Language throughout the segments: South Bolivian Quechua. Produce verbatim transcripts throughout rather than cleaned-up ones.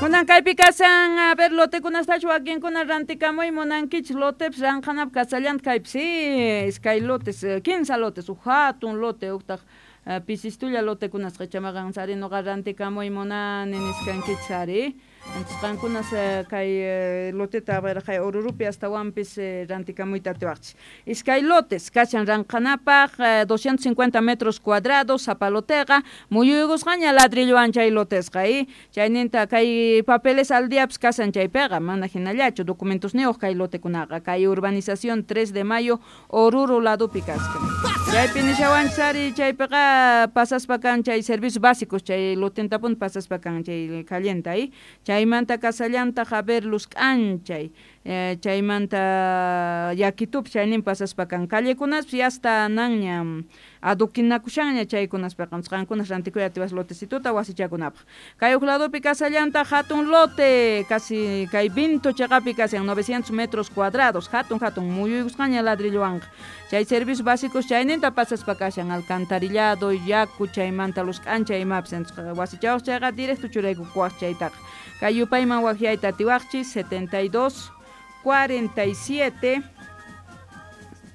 Kunan kaypi kashan, a ver, lotekunastachu wakinkuna rantikamuy munankichik? Lotepis ranqanapaq kasallanta kaypi, sí, iskay lotes, kinsa lotes, huk hatun lote, huktaq pisistulla lotekunas qichamaqa sari nuqa rantikamuy munani niskankichis ari. Entonces qankunas kay loteta, a ver, kay Orurupi astawanpis rantikamuyta atiwaqchis. Iskay lotes kashan ranqanapaq, doscientos cincuenta metros cuadrados sapa loteqa, muyuykusqaña ladrillowan chay lotesqa, y chayninta kay papeles al diapis kashan chaypiqa, mana hinallachu, documentosniyuq kay lotekunaqa. Kay urbanización tres de Mayo, Oruro ladopi kaskan. Chaypi nishawanchis ari, chaypiqa pasaspa kan chay servicios básicos, chay lotentapuni pasaspa kan chay callenta, y chaymanta kasallantaq, a ver, luz k'anchay, chaymanta yakitupi chaynin pasaspa kan, callekunaspi ya está nanña adoquinakushanña chaykunaspiqa. Qankunas rantikuy atiwas lotecituta wasichakunapaq. Kay huk ladopi kasallantaq hatun lote, casi kay Vinto cheqapi kashan, novecientos metros cuadrados, hatun hatun, muyuykusqaña ladrillowanqa. Chay servicios básicos chayninta pasaspa kashan, alcantarillado, yaku, chaymanta luz k'anchay imapis. Wasichawaq chayqa directo churaykukuwaq chaytaqa. Kay yupayman waqyayta atiwaqchis: setenta y dos cuarenta y siete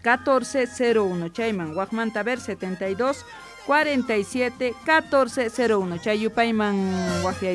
catorce cero uno. Chayman waqmanta ver, setenta y dos cuarenta y siete catorce cero uno, chay yupayman waqyayta.